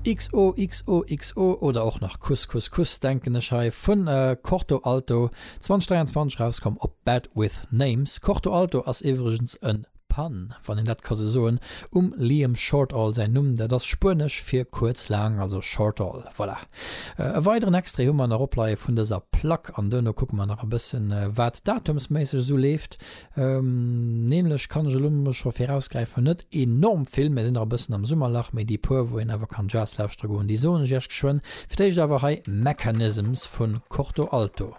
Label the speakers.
Speaker 1: XOXOXO oder och nach Kuss Kuss Kuss denken ech hei vun Corto Alto, 2023 rauskomm op Bad With Names. Corto Alto ass iwwregens en Pun, wann een dat ka sou soen, um Liam Shortall säin Numm, dat ass spuenesch fir kuerz, laang, also Shortall. Voilà. E weideren Extrait hu mer nach opleie vun dëser Plack an duerno kucke mer nach e bëssen wat datumsméisseg esou leeft. Nämlech kann ech elo mol scho virausgräifen, net enorm vill, mir sinn nach e bëssen am Summerlach, mee déi puer wou een awer kann Jazz lauschtere goen, déi soen ech iech geschwënn. Fir d'éischt awer hei Mechanisms vu Corto Alto.